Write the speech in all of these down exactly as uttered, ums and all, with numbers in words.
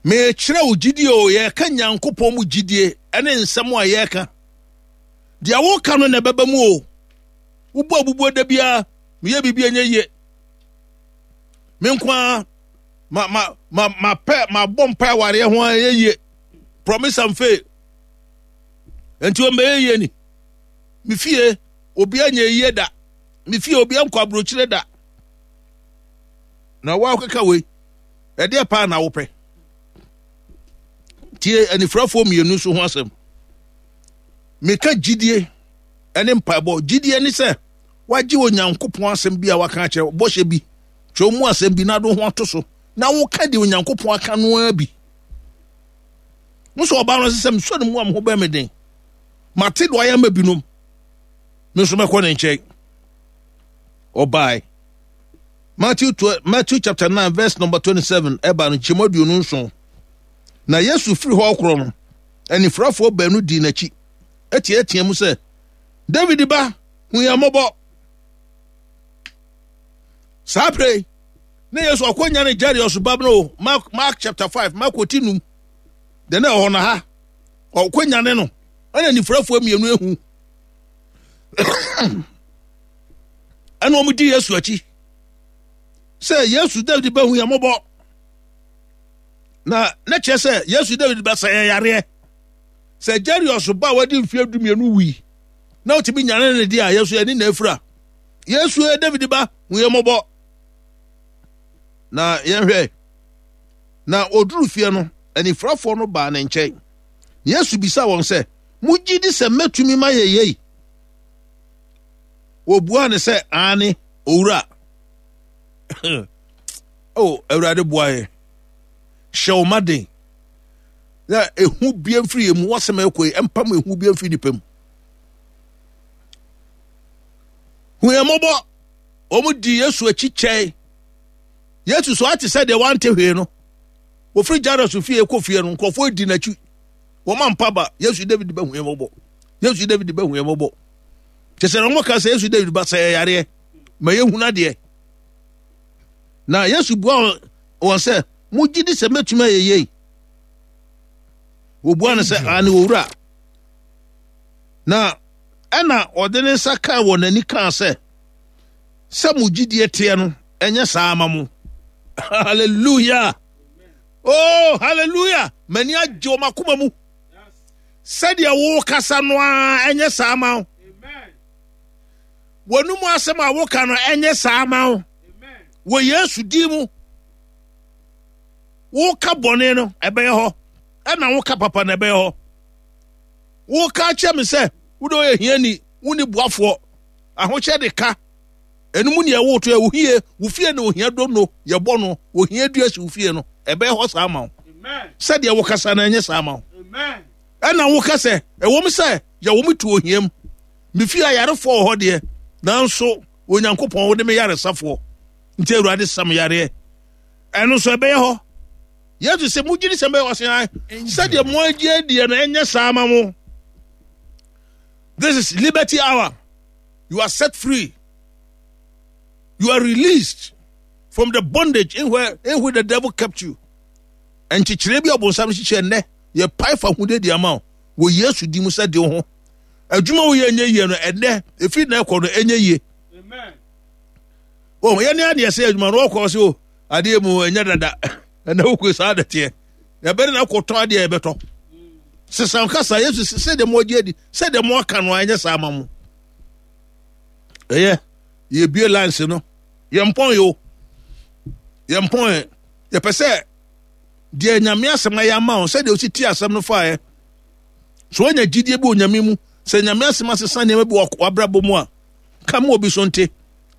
Mekyerɛ wo gyidie o, yɛka Nyankopɔn mu gyidie ɛne nsɛm a yɛka. Deɛ woka no na ɛbɛba mu o. Wobɔ abubuo da biara, meyɛ biribi ɛnyɛ yie. Me nko ara ma ma ma ma pɛ ma bɔ mpa awareɛ ho a ɛyɛ yie. Promise and fail. Nti wɔn bɛyɛ yie ni. Me fie obi anyɛ yie da. Me fie obi ankɔ aburokyire da. Na wɔakeka wei. Ɛdeɛ paa na wopɛ. Tie anifirafoɔ mmienu nso ho asɛm. Meka gyidie ne mpaebɔ. Gyidie ne sɛ wagye Onyankopɔn asɛm bi a waka akyerɛ bɔhyɛ bi, kyerɛ mu asɛm bi na ade ho ato so na woka deɛ Onyankopɔn aka no ara bi. Nso ɔbaa no sɛ mesɔ ne mu a me ho bɛn me den. Mate deɛ ɔyɛ ama binom. Me nso mɛkɔ ne nkyɛn. Ɔbae. Matthew, Matthew chapter nine verse number twenty-seven ɛba no nkyɛmu aduonu nson. Na Yesu firi hɔ korɔ no, anifirafoɔ baanu dii n'akyi, ɛteatea mu sɛ, David ba, hu yɛn mmɔbɔ. Saa pere ne Yesu akɔnya ne Jairus ba no, Mark, Mark chapter five, Mark ti num, de na ɛwɔ na ha, ɔkɔnya ne no, ɛna anifirafoɔ mmienu ehu. Ɛna wɔn di Yesu akyi sɛ Yesu David ba hu yɛn mmɔbɔ. Na ne kyerɛ sɛ Yesu David ba sɛ yɛn yareɛ. Sɛ Jairus ba a wadi mfeɛ du mmienu wui na ɔtumi nyane ne deɛ a, Yesu yɛne na afira. Yesu yɛ David ba hu yɛn mmɔbɔ. Na yɛnhwɛ. Na ɔduru fie no, anifirafoɔ no baa ne nkyɛn. Yesu bisa wɔn sɛ, mogye di sɛ mɛtumi ma yɛ yei? Wɔbuaa ne sɛ, aane, owura. Oh, Awurade boa yɛ. Hyɛ wo ma den. Na ehu bia mfiri yɛ mu, wasɛm ɛkɔ yi, ɛmpam ehu bia mfiri nipa mu. Hu yɛn mmɔbɔ. Wɔn di Yesu akyi kyɛe. Yesu so ate sɛ deɛ wante hwee no. Wɔfiri Jairus fie kɔ fie no, nkurɔfoɔ di n'akyi. Wɔn ampa ba, Yesu David bɛ hu yɛn mmɔbɔ. Yesu David bɛ hu yɛn mmɔbɔ. Kyɛ sɛ wɔn ka sɛ Yesu David ba sɛ yareɛ, ma yɛhunu adeɛ. Na Yesu bua wɔn sɛ, mogye di sɛ mɛtumi ayɛ yei? Wɔbua no sɛ, aane, owura. Na ɛna ɔde ne nsa kaa wɔn ani kaa sɛ, sɛ mo gyidie teɛ no, ɛnyɛ saa ama mo. Hallelujah. Oh, hallelujah. M'ani agye wɔn akoma mu. Sɛdeɛ wokasa no ara, ɛnyɛ saa ama wo. Wɔn mu asɛm a woka no, ɛnyɛ saa ama wo. Wɔ Yesu din mu. Woka bɔne no, ɛbɛyɛ hɔ. Ɛna woka papa no, ɛbɛyɛ hɔ. Woka kyerɛ me sɛ, wode ɔyɛ hiani, wonni boafoɔ. Ahokyɛ de ka. Ɛno mu nea ɛwɔ to yɛ ohie, wo fie na ohia dono, yɛbɔ no, ohia dua si wo fie no, ɛbɛyɛ hɔ saa ma wo. Sɛdeɛ wokasa no, ɛnyɛ saa ma wo. Ɛna woka sɛ, ɛwɔ mu sɛ yɛwɔ me to ohia mu. Me fie ayarefoɔ wɔ hɔ deɛ, nanso Onyankopɔn wode me yaresafoɔ. Nti Awurade sam yareɛ. Ɛno nso ɛbɛyɛ hɔ. Yesu sɛ mogye di sɛ mbɛyɛ ɔse an, sɛdeɛ mo agye adiɛ no ɛnyɛ saa ma mo. This is liberty hour. You are set free. You are released from the bondage in where in which the devil kept you. Nkyekyere bi a ɔbonsam hyehyɛ nnɛ yɛ pae fa ho de di ama wo wɔ Yesu di mu sɛ de wo ho. Adwuma wo yɛ nyɛ yie no ɛnnɛ efi na ɛkɔ no ɛnyɛ yie. Oh, yɛne adeɛ sɛ adwuma no ɔkɔ sɛ o adeɛ mu ɛnyɛ dada ɛnna wokɔ saa de teɛ yɛbɛde na akɔtɔ adeɛ yɛbɛtɔ sesan kasa Yesu sɛ deɛ mo agye adi sɛ deɛ mo aka no ɛnyɛ saa ma mo. Ɛyɛ yɛbie lines no yɛmpɔn yo yɛmpɔn yɛpɛ sɛ deɛ Nyame asɛm ayɛ ama wo sɛdeɛ osi ti asɛm no faeɛ so woanya gyidie bi wɔ Nyame mu sɛ Nyame asɛm asesa nneɛma bi wɔ w'abrabɔ mu a ka ma obi so nte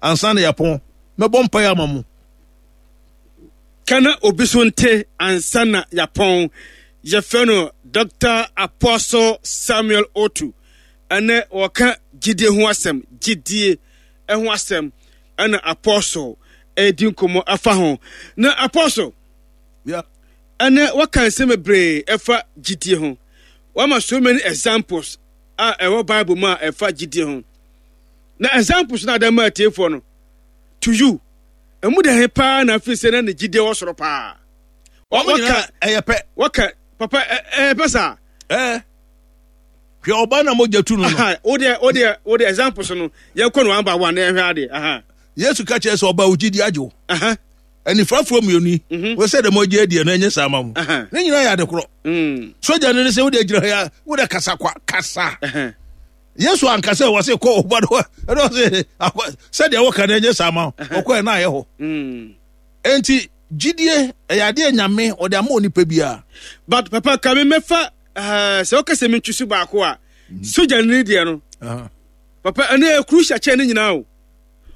ansa na yɛapɔn. Mɛbɔ mpaeɛ ama mo. Ka na obi so nte ansa na yɛapɔn. Yɛfrɛ no Doctor Apostle Samuel Otu. Ɛnɛ wɔka gyidie ho asɛm, gyidie ho asɛm ɛna Apostle ɛredi nkɔmmɔ afa ho. Na Apostle, yeah. Ɛnɛ wɔka nsɛm bebree ɛfa gyidie ho. Wɔama so many examples a ɛwɔ Bible mu a ɛfa gyidie ho. Na examples na adama atiefoɔ no to you. Ɛmu de he paa na afei sɛ na ne gyidie wɔ soro paa. Wɔn nyinaa ɛyɛ pɛ. Wɔka papa ɛyɛ pɛ saa. Ɛɛ hwɛ ɔbaa na mogya tu no no. O deɛ o deɛ o deɛ example so no yɛn kɔ no one by one na yɛn hwɛ adeɛ. Yesu ka kyerɛ sɛ ɔbaa ogyi di agye o. Anifrafoɔ mmienu yi wɔ sɛ dɛm ɔgye adiɛ no ɛnyɛ saa ma mo. Ne nyinaa yɛ ade korɔ. Sogya no ne sɛ wode agyina ha yi wode kasa kwa kasa. Yesu anka sɛ wɔ se kɔ ɔba no ɛna ɔse sɛdeɛ wɔka no ɛnyɛ saa ma ɔkɔ ɛna ayɛ hɔ. Enti gyidie ɛyɛ adeɛ Nyame ɔde ama onipa biara. But papa ka me mɛfa sɛ ɔka sɛ mentwi so baako a sogya no deɛ no papa ɛno yɛ crucial kyɛn ne nyinaa o.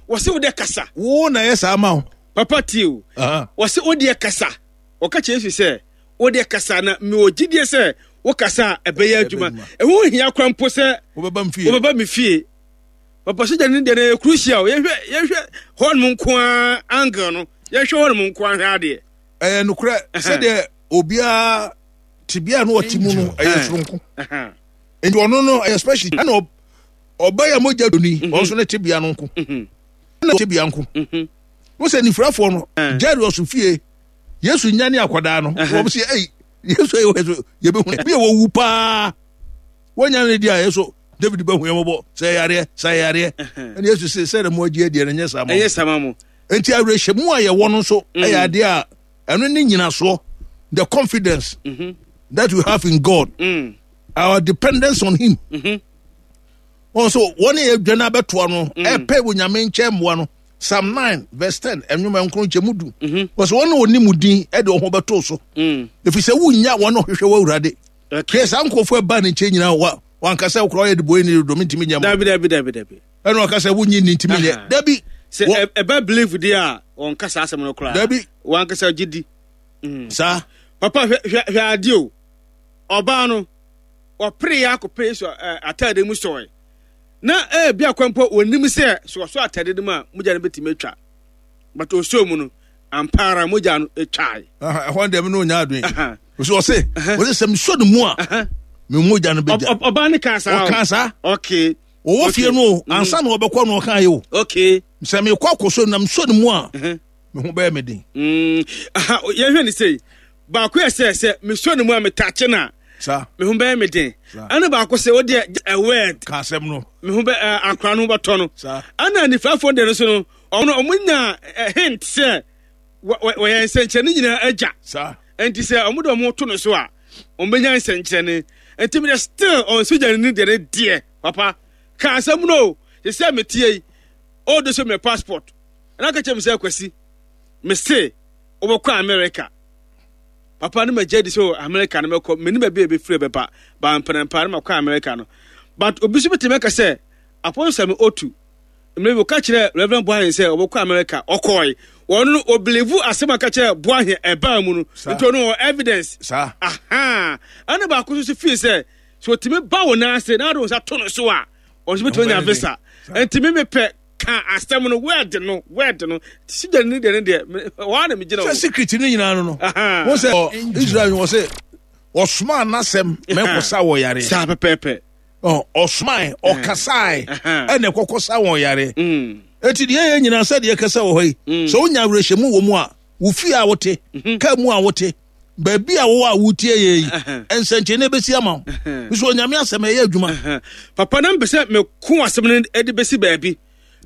Wɔse wo deɛ kasa. Wo na ɛyɛ saa ma wo. Papa tie o. Wɔse wo deɛ kasa. Wɔka kyerɛ Yesu sɛ wo deɛ kasa na mewɔ gyidie sɛ wo kasa a ɛbɛyɛ adwuma. Ɛho hia kora mpo sɛ wobɛba me fie. Papa sogya no deɛ no ɛyɛ crucial. Yɛhwɛ yɛhwɛ hɔ nom nko ara angle no. Yɛhwɛ hɔ nom nko ara hwɛ adeɛ. Ɛyɛ nokorɛ sɛdeɛ obiara tebea no ɔte mu no ɛyɛ soronko. Nti ɔno no ɛyɛ special ɛna ɔbɛyɛ mogya doni ɔno nso ne tebea no nko. Ɛna tebea nko. Wo sɛ nifurafoɔ no Jairus fie Yesu nyane akwadaa no wɔn sɛ ɛyi Yesu ɛyɛ wɔ so yɛbɛhu bi a wɔwu paa wɔnya ne di a Yesu David bɛhu yɛn mɔbɔ sɛ yareɛ sɛ yareɛ ɛna Yesu sɛ sɛ ɛna mo agye adiɛ no nyɛ saa ma ɛnyɛ saa ma mo. Nti awerɛhyɛmu a yɛwɔ no nso ɛyɛ adeɛ a ɛno ne nyinasoɔ, the confidence mm -hmm. that we have in God, mm. our dependence on him. Wɔn so wɔn a yɛdwa no abɛtoa no ɛpɛ wɔ Nyame nkyɛn mmoa no. Psalm nine verse ten ɛnwoma nkron nkyɛn mu du. Wɔsɛ wɔn a wɔnim wo din ɛde wɔn ho bɛto so. Ɛfiri sɛ wonnya wɔn a wɔhwehwɛ wɔ Awurade. Hwɛ saa nkurɔfoɔ ɛbaa ne nkyɛn nyinaa wa wankasa wokora ɔyɛ de bɔyɛ ne dodo mentumi nyɛ mo. Dabi dabi dabi dabi. Ɛna ɔka sɛ wonyi nni ntumi nyɛ. Dabi. Sɛ ɛbɛ believe deɛ a wɔnka saa asɛm no koraa. Dabi. Wankasa gye di. Saa. Papa hwɛ hwɛ hwɛ adeɛ o. Ɔbaa no ɔpere yɛ akɔpere Yesu ataade mu sɔe. Na ebi akwa mpo wɔnim sɛ sɛ ɔsɔ ataade no mu a mogya no bɛtumi atwa. But ɔsɔɔ mu no ampa ara mogya no atwae. Ɛhɔ deɛ me ne ɔnya adwene. Ɔsɛ ɔse ɔse sɛ mesɔ ne mu a me mogya no bɛgya. Ɔbaa no kaa saa. Ɔkaa saa. Okay. Ɔwɔ fie no o ansa na ɔbɛkɔ no ɔkaa yɛ o. Okay. Sɛ mekɔ akɔsɔ na mesɔ ne mu a me ho bɛyɛ me den. Yɛhwɛ ne sei baako yɛ sɛ sɛ mesɔ ne mu a metakye no a saa me ho bɛyɛ me den. Ɛna baako sɛ o deɛ a word ka asɛm no me ho bɛ akora no ho bɛtɔ no. Saa. Ɛna nifafoɔ deɛ no so no ɔno ɔmo nya hint sɛ wɔyɛ nsɛnkyerɛnne nyinaa agya. Saa. Nti sɛ ɔmo de ɔmo to no so a ɔmo bɛnya nsɛnkyerɛnne. Nti mi deɛ still ɔnsogya ne deɛ ne deɛ papa ka asɛm no o sɛ sɛ metie yi o de so me passport ɛna ka kyerɛ me sɛ Kwasi me se wobɛkɔ America. Papa no magya di sɛ America no mɛkɔ mene baabi a ɛbɛfiri bɛba ba mprɛmpa no makɔ America no. But obi nso bɛtumi aka sɛ Apostle Samuel Otu mmerɛ bi ɔka kyerɛ Reverend Boahen sɛ ɔbɛkɔ America ɔkɔe. Wɔn no ɔbelieve asɛm a ɔka kyerɛ Boahen ɛbaa mu no nti ɔno ɔwɔ evidence. Saa. Aha. Ɛna baako nso fii sɛ sɛ ɔtumi ba wo nan ase na ɔde wo nsa to no so a ɔno nso bɛtumi anya visa. Nti me mepɛ ka asɛm no word no word no sigya ne deɛ ne deɛ wɔn na megyina sɛ secret ne nyinaa no no wɔn sɛ Israel wɔ sɛ ɔsomaa n'asɛm mɛkɔsa wɔ yareɛ saa pɛpɛɛpɛ ɔsomae ɔkasae ɛna ɛkɔkɔsa wɔn yareɛ eti deɛ yɛ nyinaa sɛ deɛ kasa wɔ hɔ yi sɛ wonya awerɛhyɛmu wɔ mu a wo fie a wote kaa mu a wote baabi a wowɔ a wotie yɛ yi nsɛnkyerɛnne bɛsi ama wo nso Onyame asɛm ɛyɛ adwuma. Papa na mpɛ sɛ meko asɛm no de bɛsi baabi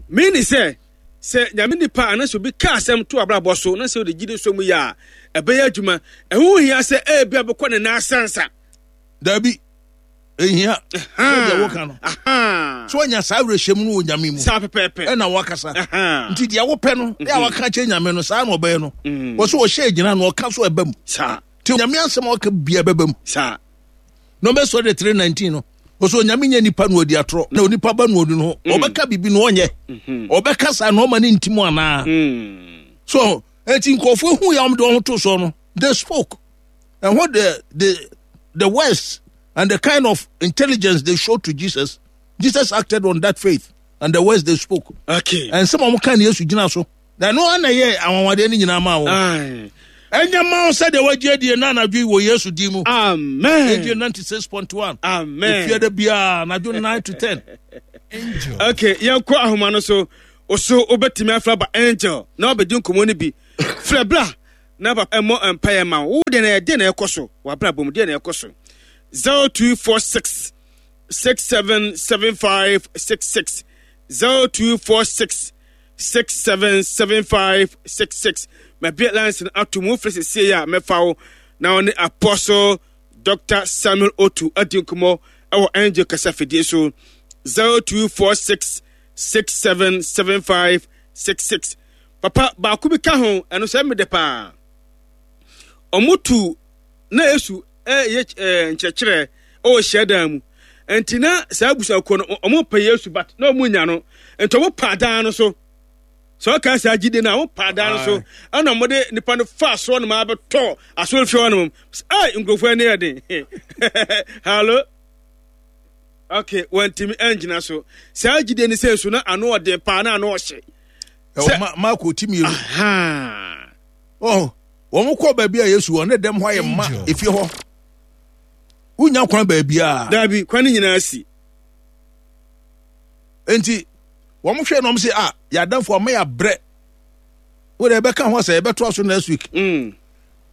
mene sɛ sɛ Nyame nipa anaasɛ obi ka asɛm to abrabɔ so na sɛ wode gyidi so mu yɛ a ɛbɛyɛ adwuma. Ɛho hia sɛ ebia bɛkɔ ne nan asansa. Dabi, ehia sɛ deɛ woka no sɛ wanya saa awerɛhyɛmu no wɔ Nyame mu saa pɛpɛɛpɛ ɛna wakasa nti deɛ wopɛ no yɛ a waka kyerɛ Nyame no saa na ɔbɛyɛ no wɔ so ɔhyɛ gyina no ɔka so ɛba mu saa nti Nyame asɛm a ɔka bia bɛba mu saa Numbers twenty three nineteen no ɔsɛ Onyame nyɛ nipa na ɔdi atorɔ na onipa ba na ɔdi no ho ɔbɛka biribi na ɔnyɛ ɔbɛka saa na ɔma ne ntim anaa so enti nkurɔfoɔ hu yɛ wɔn de wɔn ho to soɔ no they spoke and what the the the words and the kind of intelligence they showed to Jesus, Jesus acted on that faith and the words they spoke. Okay. And some of them can Yesu gyina so. Na no ana yɛ anwanwadeɛ no nyinaa maa wɔn. Ɛnyɛ ma wo sɛdeɛ wagye adie na anadwo yi wɔ Yesu din mu. Amen. Radio ninety-six point one. Amen. Efie da biara anadwo nine to ten. Angel. Okay, yɛnkɔ ahoma no so. Oso wobɛtumi afra ba Angel na wabɛdi nkɔmmɔ no bi. Frɛ bra Na papa ɛmmɔ mpaeɛ ma wo. Wo deɛ na ɛdeɛ na ɛkɔ so w'abrabɔ mu, deɛ na ɛkɔ so. zero two four six six seven seven five six six zero two four six six seven seven five six six. Mabie lines no ato mu wofrɛ sesie a mɛfa wo na ɔne Apostle Doctor Samuel Otu adi nkɔmmɔ ɛwɔ Angel kasafidie so. zero two four six six seven seven five six six. Papa baako bi ka ho, ɛno sɛ mede paa. Ɔmo tu na Yesu ɛyɛ ɛɛ nkyerɛkyerɛ ɛwɔ hyiadan mu. Nti na saa abusuakuo no ɔmo pɛ Yesu but na ɔmo nya no. Nti ɔmo pa adan no so. Sɛ ɔka saa gyidie no a, ɔmo pa adan no so. Ɛna ɔmo de nipa no fa asoɔ nom abɛtɔ asɔrefie hɔ nom. Ɛy nkurɔfoɔ ani yɛ den. Hello. Okay, wɔntumi angyina so. Saa gyidie no sɛ nso na ano ɔden paa na ano ɔhye. Ɛwɔ Ma Marko ti mmienu. Oh, wɔn kɔ baabi a Yesu wɔ ne dɛm hɔ ayɛ ma efie hɔ. Wonya kwan baabi a. Daabi, kwan no nyinaa si. Enti wɔn hwɛ na wɔn sɛ ah yɛadamfo ama yɛabrɛ. Wo de ɛbɛka ho asɛ yɛbɛtoa so next week. Mm.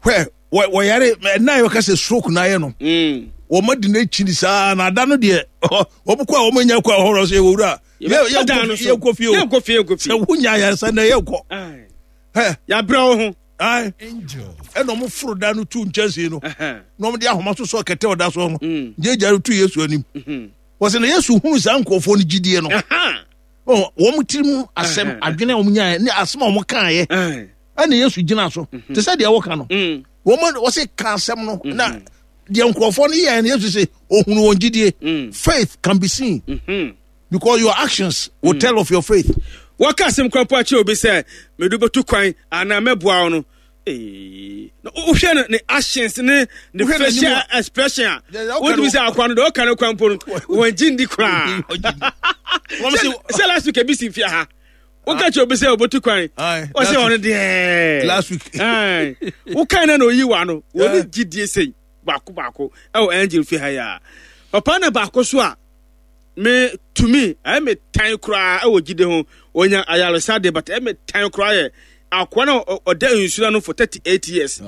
Hwɛ wɔyare ɛna yɛ wɔka sɛ stroke na ayɛ no. Mm. Wɔn adi n'akyi ni saa na ada no deɛ wɔn kɔ a wɔn nya kɔ a wɔhɔrɔ sɛ ewura yɛ yɛ nkɔ fie o yɛ fie nkɔ fie sɛ wonya ayaresa na yɛ nkɔ. Hɛ yabrɛ wo ho. Ayi ɛna wɔn foro da no tu nkyɛnsee no na wɔn de ahoma soso kɛtɛ ɔda so no gyegya no tu Yesu anim. Wɔsɛ na Yesu hunu saa nkurɔfoɔ no gyidie no. Wɔn tiri mu asɛm adwene a wɔn nyaeɛ ne asɛm a wɔn kaeɛ ɛna Yesu gyina so te sɛ deɛ wɔka no. Wɔn wɔsɛ ka asɛm no na deɛ nkurɔfoɔ no yɛɛ no Yesu sɛ ohunu wɔn gyidie. Faith can be seen mm-hmm. because your actions will mm. tell of your faith. Wɔka asɛm kwan po akyerɛ obi sɛ mede bɛtu kwan anaa mɛboa wo no, na wohwɛ no ne actions ne ne facial expression a wotumi sɛ akoa no deɛ ɔka no kwan po no wɔngye ndi koraa. Sɛ last week ebi si mfia ha woka kyerɛ obi sɛ ɔbɛtu kwan ɔsɛ ɔno deɛ last week wokae na na oyi wa no wɔne gyidie sei baako baako ɛwɔ angel fi ha yi a papa na baako so a me tumi ɛyɛ me tan koraa ɛwɔ gyidie ho onya ayaresa de but ɛyɛ me tan koraa yɛ akoa na ɔda nsuo no for thirty eight years.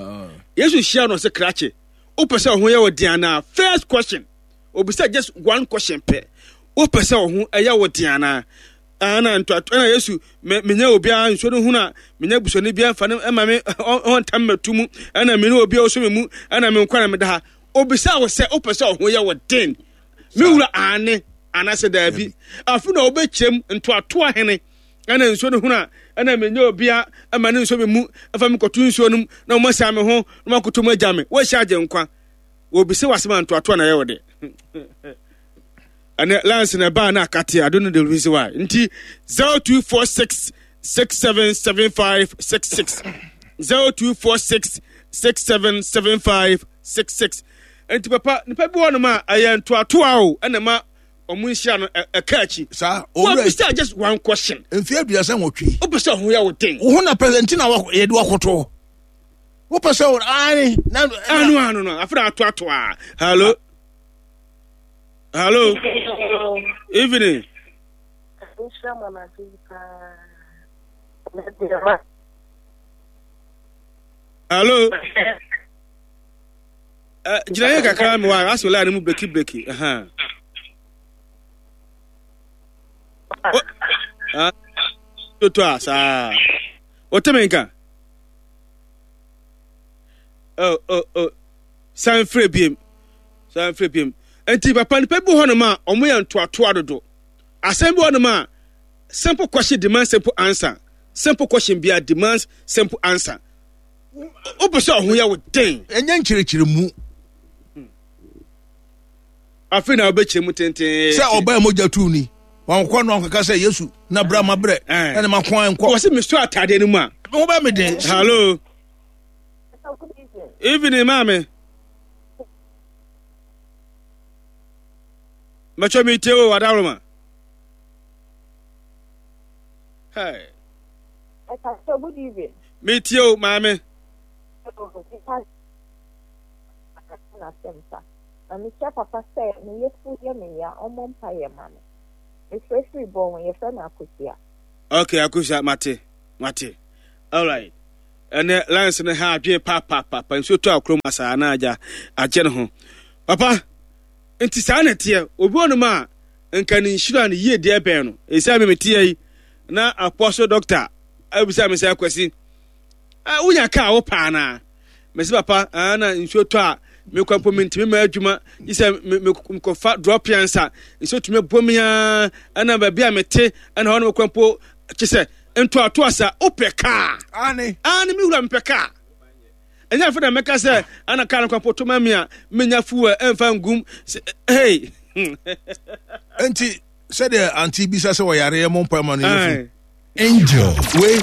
Yesu hyia no ɔsɛ krakye wopɛ sɛ ɔho yɛ wɔ den anaa? First question obisa, just one question pɛ, wopɛ sɛ ɔho ɛyɛ wɔ den anaa? Ɛna ntoato ɛna Yesu me menya obiara nsuo no hunu a menya busuani biara mfa no ɛma me ɔntam mɛto mu ɛna me ne obiara ɔsɔ me mu ɛna me nkwa na meda ha. Obisa wo sɛ wopɛ sɛ ɔho yɛ wɔ den me wura aane anaasɛ daabi? Afei na wobɛkyerɛm ntoatoa hene ɛna nsuo no hunu a ɛna menya obia ɛma ne nsuo me mu ɛfa me kɔto nsuo no mu na wɔn asia me ho na wɔn akoto mu agya me wɔahyia agye nkwa. Wɔbisa wɔ asɛm a ntoatoa na ɛyɛ wɔ de ɛnɛ lines na ɛbaa na akate. I don't know the reason why. Nti zero two four six six seven seven five six six zero two four six six seven seven five six six. Nti papa nipa bi wɔ nom a ɛyɛ ntoatoa o ɛna ma ɔmo nhyira no ɛka akyi. Saa owura wɔbisa just one question. Mfe aduasa nwɔtwe. Wopɛ sɛ ɔho yɛ wo den. Wo ho na pɛsɛ na yɛde wakɔtɔ. Wopɛ sɛ wo aane na ano ano no afei na atoatoa. Hello. Hello. Evening. Hello. Uh, gyina yɛ kakra mi wa asɛ line mu breki breki. Toto a saa. Wote me nka? Oh, oh, oh. San frɛ biem. San frɛ biem. Nti papa nipa bi hɔ nom a ɔmo yɛ ntoatoa dodo. Asɛm bi hɔ nom a simple question demands simple answer. Simple question bia demands simple answer. Wopɛ sɛ ɔho yɛ wo den. Ɛnyɛ nkyerɛkyerɛ mu. Afei na wobɛkyerɛ mu tenten. Sɛ ɔbaa mogya tu ni. Wɔn no akɔka sɛ Yesu na bra ma brɛ. Ɛna ma kwan nkɔ. Wɔsi mi so ataadeɛ no mu a. Ho bɛ mi den. Hello. Evening maame. Mɛtwa mi tie o adaworoma. Hey. Pastor, good evening. Mi tie o maame. Na mehyɛ papa sɛ meyɛ fu yɛ me ya ɔmmɔ mpa yɛ ma me. Mefrɛfiri bɔ ho yɛfrɛ me Akosua. Okay, Akosua, mate mate. All right. Ɛnɛ lines no ha adwene papaapapa, nsuo tɔ akoro mu asaa na agya agye ne ho. Papa, nti saa na ɛteɛ. Obi wɔ nom a nka ne nhyira ne yie deɛ bɛn no. Ɛsɛ me meteɛ yi na Apostle Doctor abisa me sɛ, Akwasi, wonya kaa wo paa naa? Mesi papa, na nsuo tɔ a mekɔ mpo mentumi ma adwuma gye sɛ mekɔfa drop ansa nsuo tumi bɔ me a, ɛna baabi a mete ɛna hɔ no mekɔ mpo kye sɛ ntoatoa sa wopɛ kaa. Ane. Ane, me wura, mepɛ kaa. Ɛnyɛ afei na mɛka sɛ ana kaa no kwan mpo to ma me a menya fuel ɛmfa ngum. Hey. Enti sɛdeɛ ante bisa sɛ wɔyareɛ mo mpa ma no yɛfu Angel. Wei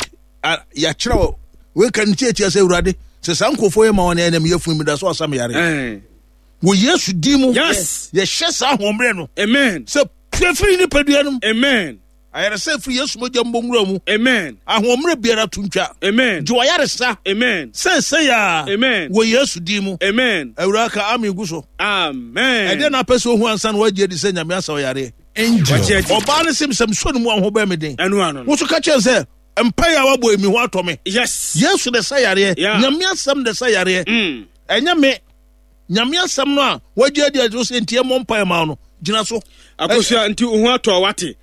yɛakyerɛ wɔ wei ka ne tiatia sɛ Awurade sɛ saa nkurɔfoɔ yɛ ma wɔn ɛnam yɛfu mi da so asa me yare wɔ Yesu din mu. Yes. Yɛhyɛ saa ahoɔmmerɛ no. Amen. Sɛ pue firi nipadua no mu. Amen. Ayaresa firi Yesu mogya mbɔ nwura mu. Amen. Ahoɔmmerɛ biara to ntwa. Amen. Gye wayaresa. Amen. Sɛsɛ ya. Amen. Wɔ Yesu din mu. Amen. Awurade ka amen gu so. Amen. Ɛdeɛ na apɛ sɛ ohu ansa na wagye adi sɛ Nyame asa ɔyareɛ. Angel. Ɔbaa no sɛ sɛ mesɔ ne mu a ho bɛn me den. Ɛno ano no. Wo so ka kyerɛ sɛ mpaeɛ a wabɔ emi ho atɔ me. Yes. Yesu de sa yareɛ. Yeah. Nyame asɛm de sa yareɛ. Mm. Ɛnyɛ me. Nyame asɛm no a wagye adi adi sɛ nti ɛmmɔ mpaeɛ ma no gyina so. Akosua nti wo ho atɔ wate.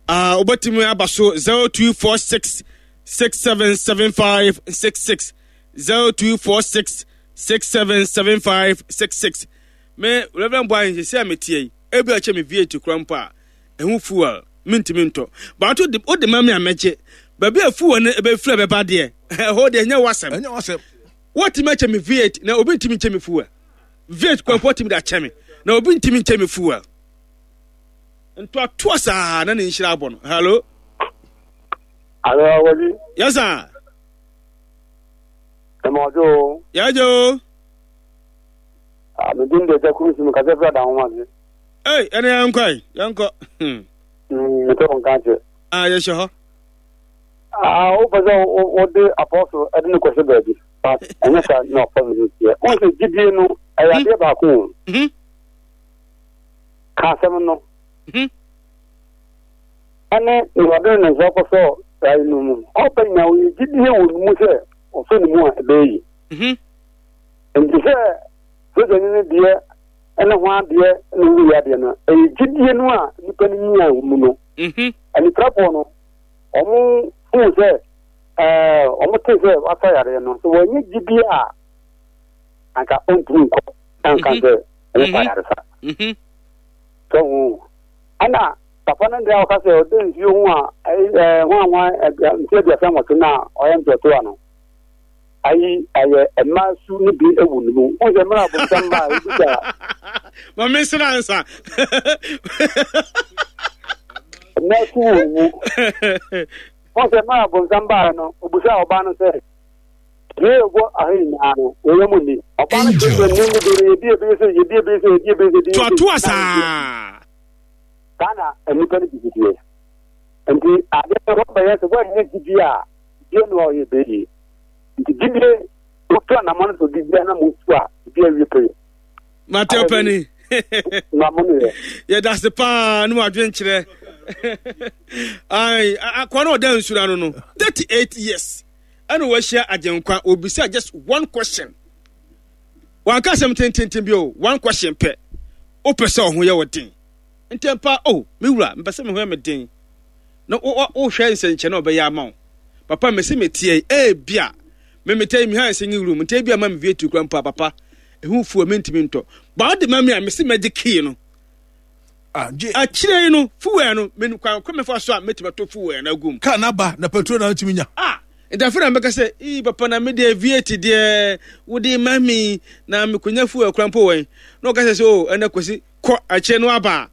Ah, wobɛtumi aba so zero two four six six seven seven five six six zero two four six six seven seven five six six. Me Reverend Boy sɛ metie yi, ebi a kyɛ me V eight kura mpo a ɛho fuel mentumi ntɔ. Bato de wode ma me a mɛgye. Baabi a fuel no ɛbɛfiri bɛba deɛ, ɛhɔ deɛ ɛnyɛ w'asɛm. Ɛnyɛ w'asɛm. Wɔtumi akyɛ me V eight na obi ntumi nkyɛ me fuel. V eight kura mpo wɔtumi de akyɛ me na obi ntumi nkyɛ me fuel. Ntoatoa saa na ne nhyira abɔ no. Hello. Hello, Awadi. Yes sir. Ɛmɔdwo. Yɛgye o. Ah, me din de Ɛgya Kuru si mu kasɛ fira da ho ase. Ei, ɛne yɛnkɔ yi, yɛnkɔ. Hmm. Mm, mete wo nka kyɛ. Ah, yɛhyɛ hɔ. Ah, wopɛ sɛ wode apɔso ɛde ne kɔhyɛ baabi. But ɛnyɛ saa na ɔpɔso no teɛ. Wo sɛ gyidie no, ɛyɛ adeɛ baako o. Mhm. Ka asɛm no. Mhm. Ɛne nea ɔde ne nsa kɔsɔ ayi no mu. Ɔpɛ nyinaa ɔyɛ gyidie wɔ ne mu sɛ ɔsɔ ne mu a ɛbɛyɛ yi. Mhm. Nti sɛ sogyani no deɛ ɛne ho adeɛ ne wuyɛ adeɛ no, ɛyɛ gyidie no a nipa no nyaa wɔ mu no. Mhm. Anifirafoɔ no, ɔmo fuu sɛ ɛɛ ɔmo te sɛ wasa yareɛ no, sɛ wɔnyɛ gyidie a anka ɔntumi nkɔ anka sɛ ɔmo fa yaresa. Mhm. Sɛ ho ɛna papa no deɛ ɔka sɛ ɔde nsuo ho a ɛɛ ho a ho a nsuo aduasa nwɔtwe no a ɔyɛ ntoatoa no, ayi ɛyɛ mmaa su no bi wɔ ne mu. Wɔn sɛ mmerɛ abonsam ba a ebi sa Ma me nsra ansa. Mmaa su wɔ ne mu. Wɔn sɛ mmerɛ abonsam baa no, obusa ɔbaa no sɛ, "Yee wɔ aha nyinaa no, wɔyɛ mu ni." Ɔbaa no kyerɛ sɛ ne mu de no yɛdi ebi sɛ yɛdi ebi sɛ yɛdi ebi sɛ yɛdi ebi sɛ. Toatoa saa. Saa na nnipa no bi teɛ. Nti adeɛ no wɔbɛyɛ sɛ wɔnyɛ gyidie a gyidie no a ɔyɛ bɛyie. Nti gyidie wotu anamɔ no sɛ gyidie na mo tu a gyidie awie pɛyɛ. Mate ɔpɛni. Na mo ne yɛ. Yɛda ase paa ne wadwenkyerɛ. Ai, akwa no ɔda nsura no no thirty-eight years ɛna wahyia Agyenkwa, obisa just one question. Wanka asɛm tententen bi o, one question pɛ. Wopɛ sɛ ɔho yɛ wo den. Ntɛmpa o, me wura, mepɛ sɛ me ho yɛ me den. Na wohwɛ nsɛnkyerɛ na ɔbɛyɛ ama wo. Papa, mese meteɛ yi, ebia me metɛ yi behind singing room, nti ebia ma me vie tu kura mpo a, papa, ɛho fuo mentumi ntɔ. Ba wode ma me a, mese mɛgye key no. Ah, gye. Akyire yi no, fuel no, me kwan kɔ mefa so a mɛtumi atɔ fuel no agu mu. Kaa no aba na petrol na wotumi nya. Ah, nti afei na mɛka sɛ, ii papa na me deɛ V eight deɛ wode ma me na mekonya fuel kora mpo wɛn. Na ɔka sɛ sɛ o ɛnɛ Kwasi kɔ akyire no aba.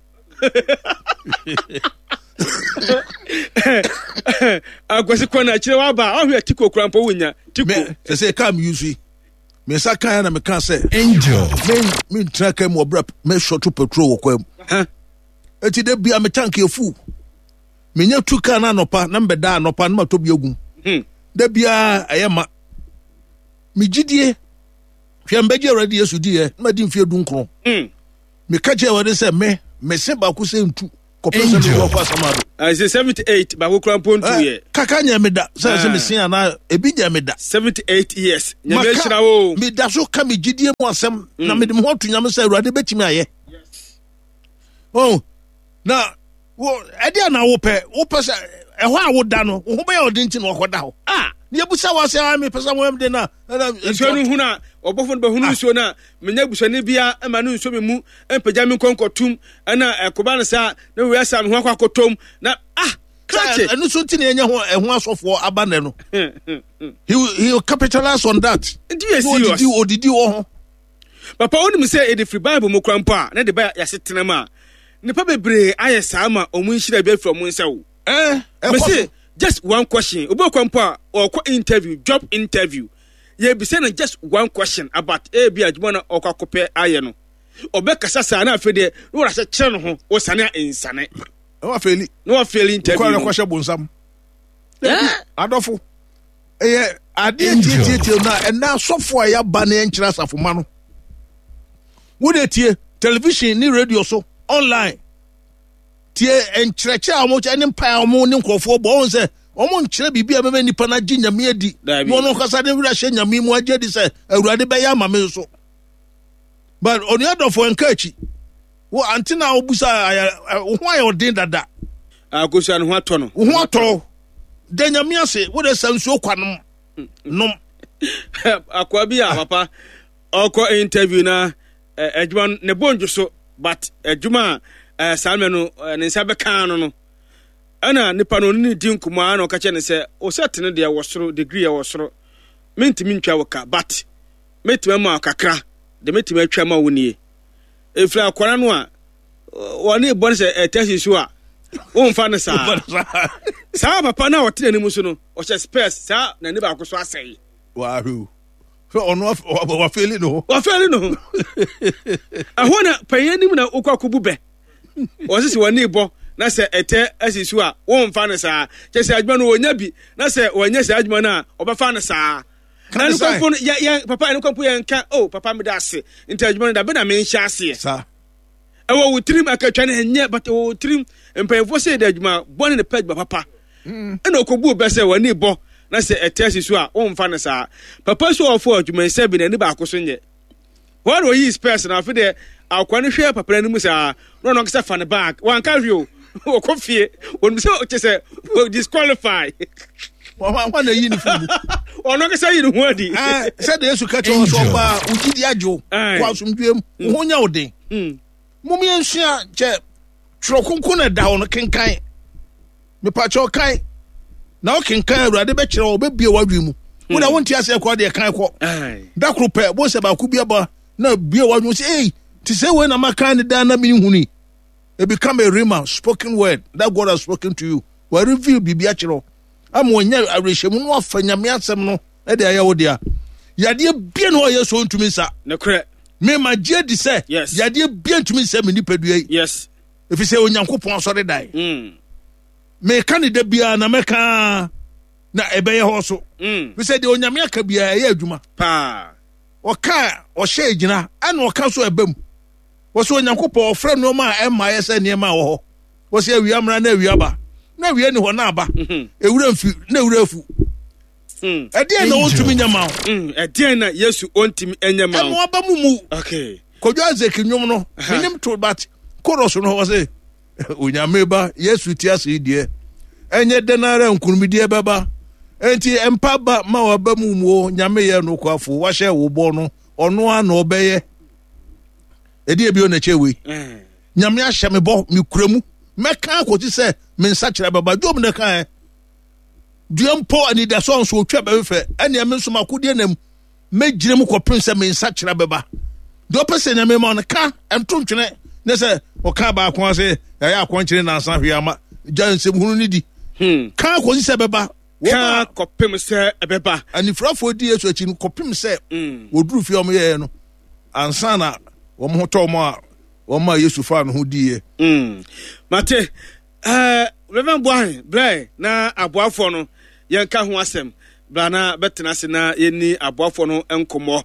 Akwasi kɔ na akyire waba. Ɔhwɛ tiko kora mpo wonya. Tiko. Me sɛ sɛ kaa me use yi. Me nsa kan na meka sɛ Angel. Me me ntra kaa mu ɔbra me short petrol wɔ kwan mu. Eti de bia me tank yɛ full. Menya tu kaa na anɔpa na mbɛda anɔpa na matɔ bi agum. Hmm. Da bia ɛyɛ ma. Me gyidie hwɛ mbɛgye Awurade Yesu diɛ na madi mfeɛ du nkron. Hmm. Meka kyerɛ Awurade sɛ me mese baako sɛ ntu. Kɔpem sɛ mewɔ kɔ asamado. Ɛsɛ seventy eight baako kura mpo ntu yɛ. Kaka nyɛ me da sɛ sɛ mesia anaa ebi nyɛ me da. seventy eight years. Nyame ahyira wo. Meda so ka me gyidie mu asɛm na mede me ho ato Nyame sɛ Awurade bɛtumi ayɛ. Oh, na wo ɛdeɛ na wopɛ wopɛ sɛ ɛhɔ a woda no wo ho bɛyɛ ɔden nti na wakɔda hɔ. Ah! Ne yɛbusa wo asɛ mepɛ sɛ woyɛ den na nsuo no hunu a ɔbɔfo no bɛhunu nsuo no a menya busuani bia ma no nsuo me mu mpagya me nkɔnkɔtum ɛna ɛkoba no saa na wei asa me ho akɔ akɔtɔm na ah krakye ɛno so nti na ɛnyɛ ho ɛho asɔfoɔ aba nɛ no. He will, he will capitalize on that. Nti yɛ serious. Odidi odidi wɔ ho. Papa wonim sɛ ɛde firi Bible mu kora mpo a na de ba yɛasetena mu a nnipa bebree ayɛ saa ma ɔmo nhyira bi afiri ɔmo nsa o. Eh, ɛkɔ Mese so. just one question. Obi okɔ mpo a ɔkɔ interview, job interview. Yɛbisa no just one question about ebi adwuma na ɔkɔ akɔpɛ ayɛ no. Ɔbɛkasa saa na afei deɛ na wɔde ahyɛ kyerɛ no ho ɔsane a nsane. Na wafeeli. Na wafeeli interview. Kɔ no. rekɔhyɛ bonsam. Eh? Adɔfo. Ɛyɛ adeɛ tietietie na ɛnna asɔfo a yɛaba ne yɛnkyerɛ asafo ma no. Wode tie television ne radio so online. Tie nkyerɛkyerɛ a wɔn ne mpae a wɔn ne nkurɔfoɔ bɔ wɔn sɛ wɔn nkyerɛ biribi a bɛbɛ nipa no agye Nyame adi. Dabi. Na wɔn ankasa de werɛ ahyɛ Nyame mu agye adi sɛ Awurade bɛyɛ ama me nso. But onua dɔfo nka akyi. Wo ante na wobusa ayɛ wo ho ayɛ ɔden dada. Akosua no ho atɔ no. Wo ho atɔ. Da Nyame ase wo de sa nsuo kwa nom. Nom. Akoa bi a papa ɔkɔ interview na adwuma no ne bo ndwo so but adwuma a saa mmerɛ no ne nsa bɛka no no ɛna nipa no ɔne ne di nkɔmmɔ a na ɔka kyerɛ ne sɛ wo sɛ tene deɛ wɔ soro degree wɔ soro mentumi ntwa wo ka but mɛtumi ama wo kakra de mɛtumi atwa ma wo nie ɛfiri akwara no a wɔne bɔ no sɛ ɛtɛsi so a womfa no saa saa papa no a ɔte n'anim so no ɔhyɛ spurs saa n'ani baako so asɛe Wahwɛ o. Ɔno wafeeli ne ho. Wafeeli ne ho. Ɛhɔ na panyin anim na wokɔ akɔbu bɛ. Wɔse sɛ wɔne bɔ na sɛ ɛtɛ asi so a womfa no saa. Kyɛ sɛ adwuma no wɔnya bi na sɛ wɔnyɛ saa adwuma no a ɔbɛfa no saa. Ɛno kɔmpo no yɛ yɛ papa ɛno kɔmpo yɛn nka oh papa meda ase nti adwuma no dabe na menhyɛ aseɛ. Saa. Ɛwɔ wo tirim akatwa no ɛnyɛ but ɛwɔ wo tirim mpanyinfoɔ sɛ yɛde adwuma bɔne ne pɛ adwuma papa. Ɛna ɔkɔbu bɛ sɛ wɔne bɔ na sɛ ɛtɛ asi so a womfa no saa. Papa so ɔfo adwuma nsa bi n'ani baako so nyɛ. Wɔn na oyi spɛs na afei deɛ akwa no hwɛ papa n'anim saa na ɔno ankasa fa ne bag wanka hwee o ɔkɔ fie wɔn sɛ ɔkyɛ sɛ wɔ disqualify. Wɔn na eyi ne fi mu. Ɔno ankasa yi ne ho adi. Sɛdeɛ Yesu ka kyerɛ wɔn sɛ ɔbaa ogyidi agye o kɔ asomdwoe mu wo ho nyɛ wo den. Mom yɛnsua kyɛ twerɛ kronkron na ɛda hɔ no kenkan. Mepakyɛ ɔkan na ɔkenkan Awurade bɛkyerɛ wɔ bɛbie w'adwene mu. Wo na wonte aseɛ kɔ deɛ kan kɔ. Da koro pɛ bo sɛ baako bi aba na bie w'adwene sɛ ei te sɛ wei na makan ne daa na menhuni. It become a rhema spoken word that God has spoken to you. Wa reveal biribi akyerɛ wo ama wanya awerɛhyɛmu no afa Nyame asɛm no de ayɛ wo dea. Yadeɛ bie na ɔyɛ so ntumi nsa. Nokorɛ. Mema gye adi sɛ Yes. yadeɛ bie ntumi nsa me nipadua yi. Yes. Ɛfiri sɛ Onyankopɔn asɔredan. Mm. Meka ne da biara na mɛka na ɛbɛyɛ hɔ so. Mm. Ɛfiri sɛ deɛ Onyame aka biara ɛyɛ adwuma. Paa. Ɔka ɔhyɛ gyina ɛna ɔka so ɛba mu. Wɔsɛ Onyankopɔn ɔfrɛ nneɛma a ɛmma ayɛ sɛ nneɛma a wɔ hɔ. Wɔsɛ awia mmra na awia ba. Na awia ni hɔ na aba. Ewura mfi na ewura afu. Ɛdeɛn na ɔntumi nyɛ ma wo? Ɛdeɛn na Yesu ɔntumi nyɛ ma wo? Ɛmo aba mu mu. Okay. Kwadwo Isaac nnwom no, menim to but chorus no hɔ sɛ Onyame ba Yesu ti ase deɛ ɛnyɛ dɛn ara nkunimdie bɛba. Enti mpa ba ma waba mu mu o Nyame yɛ nokwafo wahyɛ wo bɔ no ɔno ara na ɔbɛyɛ. Ɛdeɛ bio na ɛkyɛ wei. Nyame ahyɛ me bɔ mekura mu mɛka akɔsi sɛ me nsa kyerɛ bɛba. Job na ɛkaeɛ. Dua mpo anidasoɔ nso otwa bɛfɛ ɛnea me nso makodeɛ nam mɛgyina mu kɔpem sɛ me nsa kyerɛ bɛba. Deɛ ɔpɛ sɛ Nyame ma no ka ɛnto ntwene ne sɛ ɔka baako ase ɛyɛ akɔnkyere nansa hwee ama gya nsɛm hunu ne di. Ka akɔsi sɛ bɛba. Ka kɔpem sɛ ɛbɛba. Anifirafoɔ di Yesu akyi no kɔpem sɛ wɔduru fie a wɔyɛɛ no ansa na wɔn ho tɔ wɔn a wɔn a Yesu faa no ho diiɛ. Mate ɛɛ Reverend Boahen brɛ na aboafoɔ no yɛnka ho asɛm bra na bɛtena ase na yɛni aboafoɔ no nkɔmmɔ.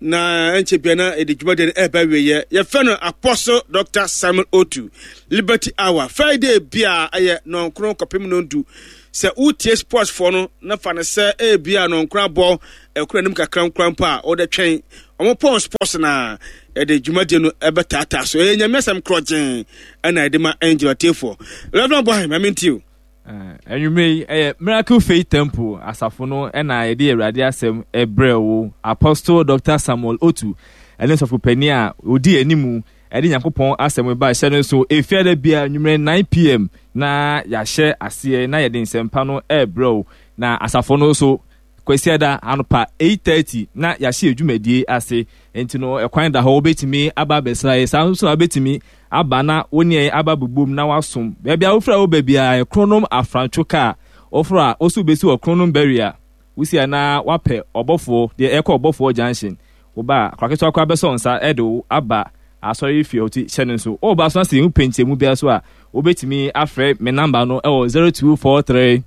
Na ɛnkyɛ bia na ɛde dwumadie no ɛreba wieɛ. Yɛfrɛ no Apostle Doctor Samuel Otu. Liberty Hour. Friday bia ɛyɛ nɔnkron kɔpem nondu. Sɛ wotie sports foɔ no na fa no sɛ ebia nɔnkron abɔ ɛkoro anim kakra nkora mpo a wode twɛn. Ɔmo pɔn sports na ɛde dwumadie no ɛbɛtaataa so. Ɛyɛ Nyame asɛm korɔgyen ɛna ɛde ma Angel atiefoɔ. Reverend Boahen, ma mentie o. Anwummerɛ yi, ɛyɛ Miracle Faith Temple asafo no ɛna yɛde Awurade asɛm ɛbrɛ wo. Apostle Doctor Samuel Otu ɛne sɔfo panin a odi animu ɛde Nyankopɔn asɛm ba hyɛ no so efiada bia anwummerɛ nine p m na yɛahyɛ aseɛ na yɛde nsɛmpa no ɛbrɛ wo. Na asafo no so Kwasiada anopa eight thirty na yɛahyɛ dwumadie ase, nti no ɛkwan da hɔ, wobɛtumi aba abɛsra yɛ. Saa nso na wobɛtumi aba na wo ne yɛn aba bobom na wasom. Baabi a wofrɛ wo baabi a Kronom Afrantwo kaa woforo a woso wobɛsi wɔ Kronom barrier, wosi a na wapɛ ɔbɔfoɔ deɛ ɛkɔ Ɔbɔfoɔ Junction. Woba a akwaketewa koraa bɛsɔ nsa ɛde wo aba asɔre fie hɔ. Ti hyɛ no nso woba so na sɛ yɛhu pɛnkyɛmu biara so a, wobɛtumi afrɛ me number no ɛwɔ zero two four three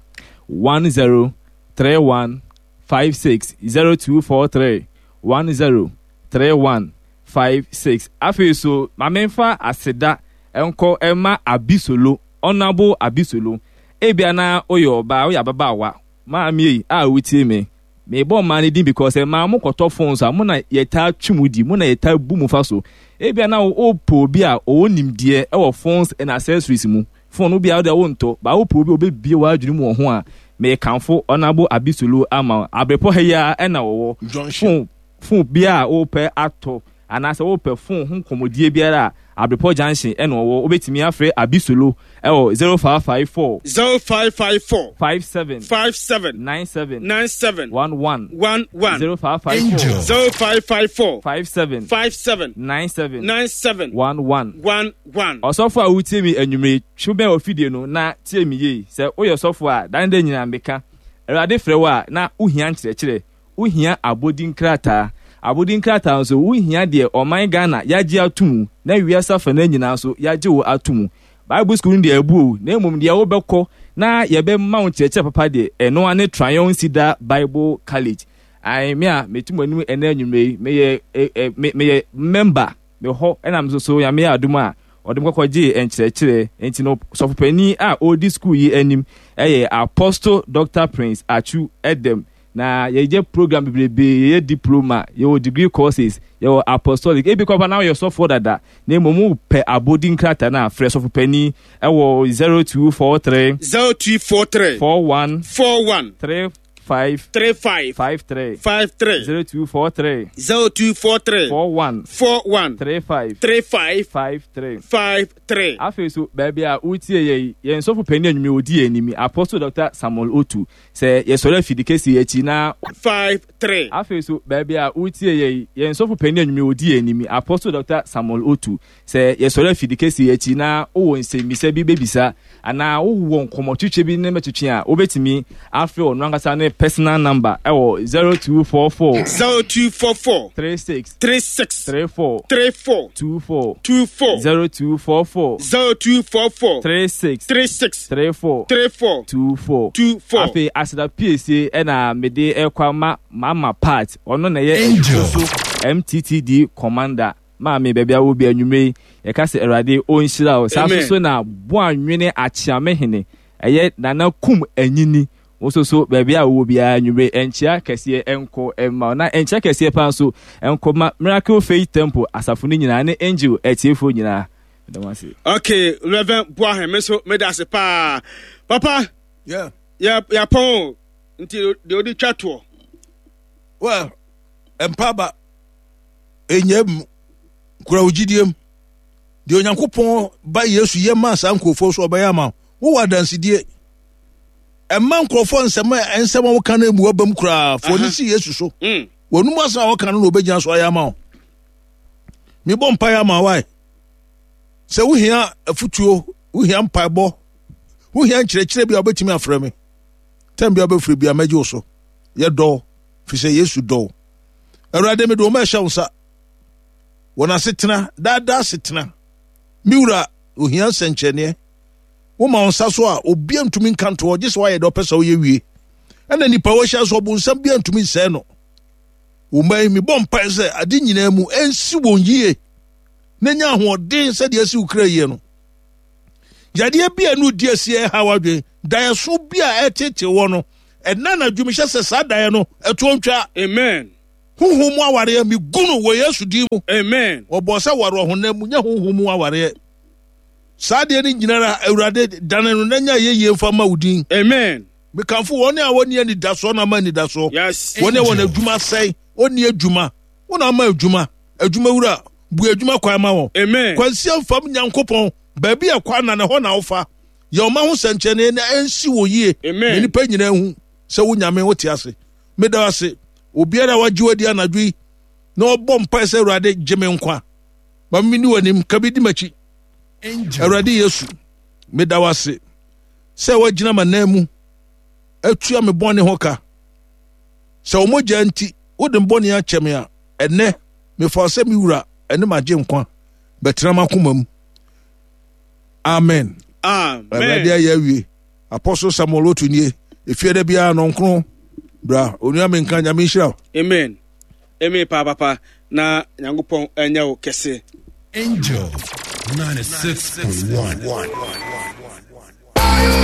one zero three one five six, zero two four three one zero three one five six. Afei so ma memfa aseda nkɔ ɛma Abisolo, Honourable Abisolo. Ebia na woyɛ ɔbaa, woyɛ ababaawa, maame yi a wotie me, mebɔ mmaa no din because mmaa mo kɔtɔ phones a mo na yɛtaa twi mu di, mo na yɛtaa bu mu fa so. Ebia na wopɛ obi a ɔwɔ nimdeɛ ɛwɔ phones and accessories mu. Phone wo bia wode wontɔ ba, wopɛ obi a obɛbie w'adwene mu wɔ ho a, mekamfo Honourable Abisolo ama wo. Abrepɔ ha yi a ɛna wɔwɔ. Junction. Phone phone bia a wopɛ atɔ anaasɛ wopɛ phone ho nkɔmmɔdie biara a, Abrepɔ Junction ɛna ɔwɔ. Wobɛtumi afrɛ Abisolo ɛwɔ zero five five four zero five five four five seven five seven nine seven nine seven one one one one zero five five four Angel. zero five five four five seven five seven nine seven nine seven one one one one. Ɔsɔfo a wotie mi anwummere, twe bɛn wɔ fidie no na tie mi yie. Sɛ woyɛ sɔfo a, dan dɛ nyinaa meka Awurade frɛ wo a, na wohia nkyerɛkyerɛ, wohia abɔdin krataa. Abɔdin krataa nso, wohia deɛ ɔman Ghana yɛagye ato mu na wiase afa no nyinaa nso yɛagye wo ato mu. Bible school no deɛ abu o, na mmom deɛ wobɛkɔ na yɛbɛma wo nkyerɛkyerɛ papa deɛ, ɛno ane Trion Cedar Bible College. Ae, me a metu mo anim ɛnɛ anwummerɛ yi, meyɛ ɛ ɛ me meyɛ member me hɔ, ɛna me nso so Nyame yɛ adom a ɔde me kɔkɔ gyee nkyerɛkyerɛ. Nti no sɔfopanin a ɔredi school yi anim ɛyɛ Apostle Doctor Prince Atsu Edem. Na yɛyɛ program bebrebe, yɛyɛ diploma, yɛwɔ degree courses, yɛwɔ apostolic. Ebi kɔpa na woyɛ sɔfoɔ dada na mmom wopɛ abɔdin krataa no a, frɛ sɔfopanin ɛwɔ zero two four three zero two four three four one four one three five three five five three five three zero two four three zero two four three four one four one three five three five five three five three. Afei so baabi a wotie yɛ yi, yɛn sɔfo panin anwummerɛ odi yɛn anim, Apostle Doctor Samuel Otu. Sɛ yɛsɔre afidi kɛseɛ akyi na five three. Afei so baabi a wotie yɛ yi, yɛn sɔfo panin anwummerɛ odi yɛn anim, Apostle Doctor Samuel Otu. Sɛ yɛsɔre afidi kɛseɛ akyi na wowɔ nsɛmmisa bi bɛbisa anaa wowɔ nkɔmmɔtwitwe bi ne mɛtwitwe a, wobɛtumi afrɛ ɔno ankasa ne personal number ɛwɔ zero two four four zero two four four three six three six three four three four two four two four zero two four four zero two four four three six three six three four three four two four two four. Afei aseda piesie ɛna mede ɛkɔ ama Mama Part. Ɔno na ɛyɛ Angel. so M T T D commander. Maame, baabi a wɔ bi anwummerɛ yi, yɛka sɛ Awurade ɔnhyira wo saa. Amen. So so na Boanwene Akyeame hene ɛyɛ Nana Kum Anyini, wo nso so baabi a wowɔ biara anwummerɛ, ɛnkyea kɛseɛ ɛnkɔ ɛma wo, na ɛnkyea kɛseɛ paa nso ɛnkɔ ma Miracle Faith Temple asafo no nyinaa ne Angel atiefoɔ nyinaa. Meda mo ase. Okay, Reverend Boahen, me nso meda ase paa. Papa, Yeah. yɛ yɛapɔn o, nti deɛ ɔde twa toɔ. Well, mpaba ɛnyɛ mu kura wo gyidie mu. Deɛ Onyankopɔn ba Yesu yɛ maa saa nkurɔfoɔ so, ɔbɛyɛ ama wo. Wowɔ adansedie. Ɛma nkurɔfoɔ nsɛm a nsɛm a woka no emu aba mu koraa fo ne si Yesu so. Mm. Wɔnum asɛm a wɔka no na obɛgyina so ayɛ ama wo. Mebɔ mpaeɛ ama wae sɛ wohia afotuo, wohia mpaebɔ, wohia nkyerɛkyerɛ bi a, wobɛtumi afrɛ me tɛm bi a wobɛfrɛ bi a, mɛgye wo so. Yɛdɔ firi sɛ Yesu dɔ wo. Awurade, mede wɔn ɛhyɛ wo nsa, wɔn asetena daadaa asetena. Me wura, ohia nsɛnkyerɛnneɛ. Woma wo nsa so a, obia ntumi nka ntoɔ, gye sɛ woayɛ deɛ ɔpɛ sɛ woyɛ wie. Ɛna nipa wɔhyia so, ɔbonsam bia ntumi nsɛe no. Wo mma yi, mebɔ mpae sɛ ade nyinaa mu ɛnsi wɔn yie na nya ahoɔden sɛdeɛ asi wo kra yie no. Yadeɛ bi a ɛno di asi ɛha w'adwene, daeɛso bi a ɛtete wɔ no, ɛna anadwo mehyɛ sɛ saa daeɛ no ɛtoɔ ntwa. Amen. Honhom mu awareɛ megu no wɔ Yesu din mu. Amen. Wɔbɔɔ sɛ ware ɔhonam mu, nyɛ honhom mu awareɛ. Saa adeɛ no nyinara, Awurade, dane no na nya yɛyie mfa ma wo din. Amen. Mekamfo wɔn a wɔnni anidasoɔ na ama anidasoɔ. Yes. Wɔn a wɔn adwuma sɛe, wɔnni adwuma. Wɔn ama adwuma. Adwuma wura, bu adwuma kwan ma wɔn. Amen. Kwansia mfam Nyankopɔn, baabi a kwan na ne hɔ na wofa. Yɛ ɔma ho sɛnkyerɛnne na ɛnsi wɔ yie. Amen. Na nnipa nyinaa hu sɛ wo Nyame wote ase. Meda ase. Obiara a wagye wadi anadwo yi na ɔbɔ mpae sɛ Awurade gye me nkwa. Ma me ni w'anim, ka bi di m'akyi. Awurade Yesu, meda wo ase sɛ woagyina m'anan mu atua me bɔne ho ka. Sɛ wo mogya nti wode me bɔne akyɛ me a, ɛnnɛ mefa wo sɛ me wura ɛne m'agye nkwa bɛtena m'akoma mu. Amen. Amen. Awurade ayɛ awie. Apostle Samuel Otu nie. Efie da biara nɔnkron. Bra, onua menka Nyame nhyira wo. Amen. Amen paa papa na Nyankopɔn ɛnyɛ wo kɛse. Angel ninety-six point one.